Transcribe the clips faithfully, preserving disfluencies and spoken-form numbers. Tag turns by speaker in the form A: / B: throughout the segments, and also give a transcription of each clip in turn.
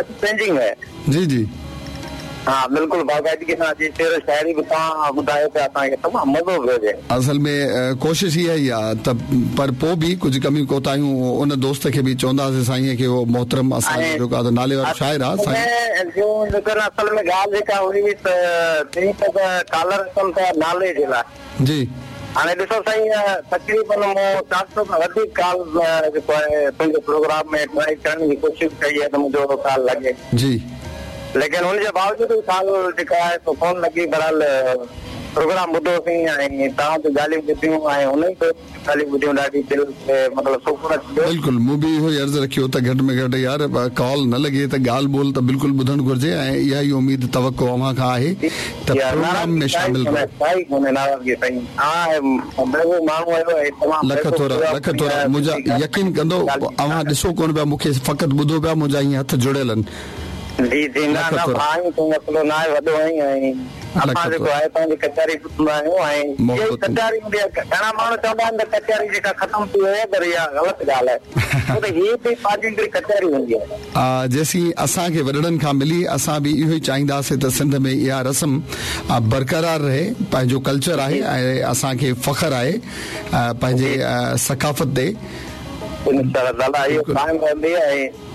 A: Changing है।
B: जी जी
A: हा बिल्कुलु बाक़ाइदगी सां अॼु शेर शाइरी बि तव्हां ॿुधायो पिया असांखे, तमामु मज़ो पियो अचे।
B: असल में कोशिश इहा ई आहे त पर पोइ बि कुझु कमियूं कोताहियूं उन दोस्त खे बि चवंदासीं साईं खे, उहो मोहतरम असांजो जेको आहे नाले वारो शाइर आहे साईं।
A: जो असल में ॻाल्हि जेका हुई त चई त कॉलर अचनि था नाले जे लाइ।
B: जी
A: हाणे ॾिसो साईं, तक़रीबन मूं चारि सौ खां वधीक कॉल जेको आहे तुंहिंजे प्रोग्राम में ट्राई करण जी कोशिशि कई आहे त मुंहिंजो कॉल लॻे।
B: जी
A: लेकिन हुनजे बावजूद कॉल जेका आहे सो कोन लॻी। बहरहाल प्रोग्राम ॿुधोसीं ऐं तव्हां जूं ॻाल्हियूं ॿुधियूं ऐं हुन ॻाल्हियूं ॿुधियूं, ॾाढी दिलि खे मतिलबु सुकून अची वियो।
B: बिल्कुलु, मूं बि इहो ई अर्ज़ु रखियो त घटि में घटि यार कॉल न लॻे त ॻाल्हि ॿोल त बिल्कुलु ॿुधणु घुरिजे ऐं इहा ई उमेद तवक़ो अव्हां खां आहे त प्रोग्राम में शामिल लख थोरा लख थोरा। मुंहिंजा यकीन कंदो अव्हां ॾिसो कोन पिया, मूंखे फ़क़ति ॿुधो पिया, मुंहिंजा ईअं हथ जुड़ियल आहिनि।
A: जी जी न न भाई तूं मसइलो न आहे, वॾो आहीं ऐं असां जेको आहे तव्हांजी कचहरी ॿुधंदा आहियूं ऐं इहा कचहरी हूंदी आहे। घणा माण्हू चवंदा आहिनि त कचहरी जेका ख़तमु थी वई आहे, पर इहा ग़लति ॻाल्हि आहे, छो त हीअ बि पंहिंजी हिकिड़ी कचहरी हूंदी आहे।
B: जेसीं असांखे वॾड़नि खां मिली, असां बि इहो ई चाहींदासीं त सिंध में इहा रस्म बरक़रार रहे। पंहिंजो कल्चर आहे ऐं असांखे फ़ख़्र आहे पंहिंजे सकाफ़त ते।
A: इंशा अल्लाह इहो क़ाइमु रहंदी। ऐं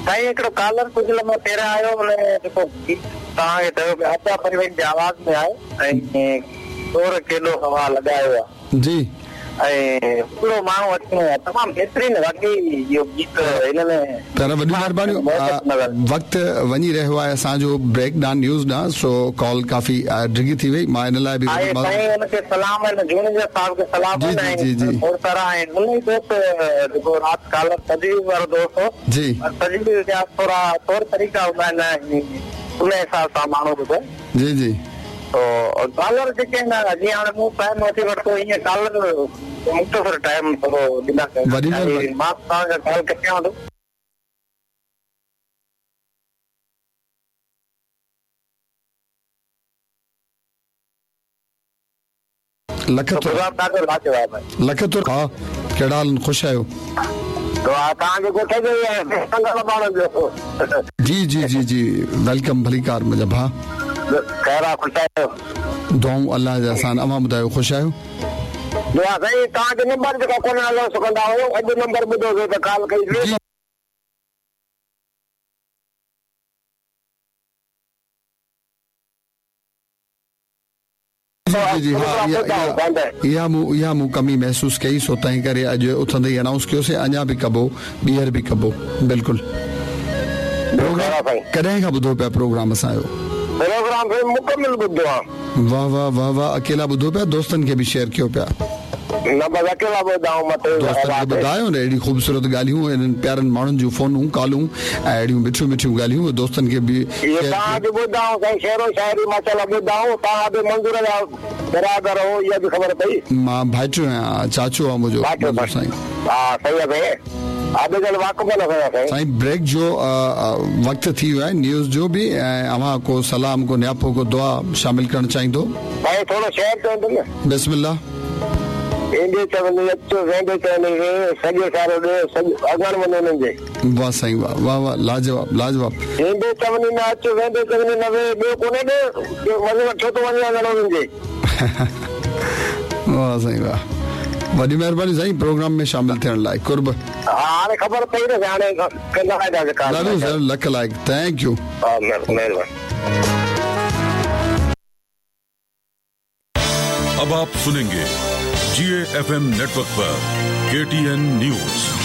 A: साईं हिकिड़ो कॉलर कुझु लम्हो पहिरियां आयो, हुन जेको तव्हांखे चयो पियो आतिया परवीन जे आवाज़ में आहे ऐं शोर केॾो हवा लॻायो आहे।
B: जी
A: ऐं हिकिड़ो माण्हू अचिणो आहे, तमामु बहितरीन वाकई इहो गीत हिन में।
B: पर वॾी महिरबानी, वक़्तु वञी रहियो आहे असांजो ब्रेक ॾांहुं, न्यूज़ ॾांहुं, सो कॉल काफ़ी डिघी थी वई। मां इन लाइ बि
A: साईं हुनखे सलाम आहिनि, जूनियर साहिब खे सलाम
B: आहिनि। जी जी
A: सारा आहिनि। उन ई दोस्त जेको राति कॉलर तजीब वारो दोस्त हो।
B: जी
A: तजीब जा थोरा तौर तरीक़ा हूंदा आहिनि, उन हिसाब सां माण्हू ॿुधे।
B: जी जी
A: तो कॉलर जेके आहिनि, जीअं हाणे मूं टाइम वठी वरितो, ईअं कॉलर मुख़्तसर टाइम थोरो ॾींदा। मां तव्हांखां कॉल कटियां थो।
B: लख लख थोरा। हा, कहिड़ा हाल, ख़ुशि आहियो?
A: तव्हांजे ॻोठ जो ई आहे।
B: जी जी जी जी welcome, भलीकार मुंहिंजा भाउ।
A: ख़ैर आहे, ख़ुशि आहियो?
B: दुआऊं अलाह जा असां। अव्हां ॿुधायो, ख़ुशि आहियो?
A: दुआ साईं, तव्हांजो नंबर जेको कोन अलाउंस कंदा हुयो, अॼु नंबर ॿुधोसीं त कॉल कईसीं।
B: जी जी हा, इहा मूं इहा मूं कमी महसूसु कई, सो तंहिं करे अॼु उथंदे ई अनाउंस कयोसीं। अञा बि कबो, ॿीहर बि कबो। बिल्कुलु। प्रोग्राम कॾहिं खां ॿुधो पिया प्रोग्राम असांजो?
A: प्रोग्राम मुकमिल ॿुधो आहे।
B: वाह वाह वाह वाह। अकेला ॿुधो पिया, दोस्तनि खे बि शेयर कयो पिया?
A: न बसि अकेला ॿुधाऊं।
B: दोस्तनि खे ॿुधायो न, अहिड़ी ख़ूबसूरत ॻाल्हियूं, इन्हनि प्यारनि माण्हुनि जूं फोनूं कॉलूं ऐं अहिड़ियूं मिठियूं मिठियूं ॻाल्हियूं दोस्तनि खे बि
A: ॿुधाऊं। साईं शेरो शाइरी माशाअल्लाह ॿुधाऊं। तव्हां बि मंज़ूर जा बरादर हो, इहा बि ख़बर पई।
B: मां भाइटो आहियां, चाचो आहे मुंहिंजो साईं।
A: हा सही आहे साईं,
B: साईं ब्रेक जो वक़्तु थी वियो आहे, न्यूज़ जो बि, ऐं अव्हां को सलाम, को न्यापो, को दुआ शामिल करणु चाहींदो?
A: साईं थोरो शेयर चवंदुमि न।
B: बिस्मिल्लाह।
A: ईंदे चवंदी अचो, वेंदे चवंदी वे, सॼो सारो ॾे, सॼो अॻण वञो हुननि जे।
B: वाह साईं वाह वाह वाह, लाजवाब लाजवाब।
A: ईंदे चवंदी न अचो, वेंदे चवंदी न वे, ॿियो कोन्हे ॾे, ॿियो वञो छो थो वञे अॻण हुननि जे।
B: वाह साईं वाह, वॾी महिरबानी साईं प्रोग्राम में शामिल थियण लाइ। कुर्ब।
A: हाणे ख़बर पई न, हाणे कंदा
B: ॾाढो सर, लख लाइक़, thank you.
A: हा महिरबानी।
C: अब आप सुनेंगे जी एफ एम नेटवर्क पर के टी एन न्यूज़।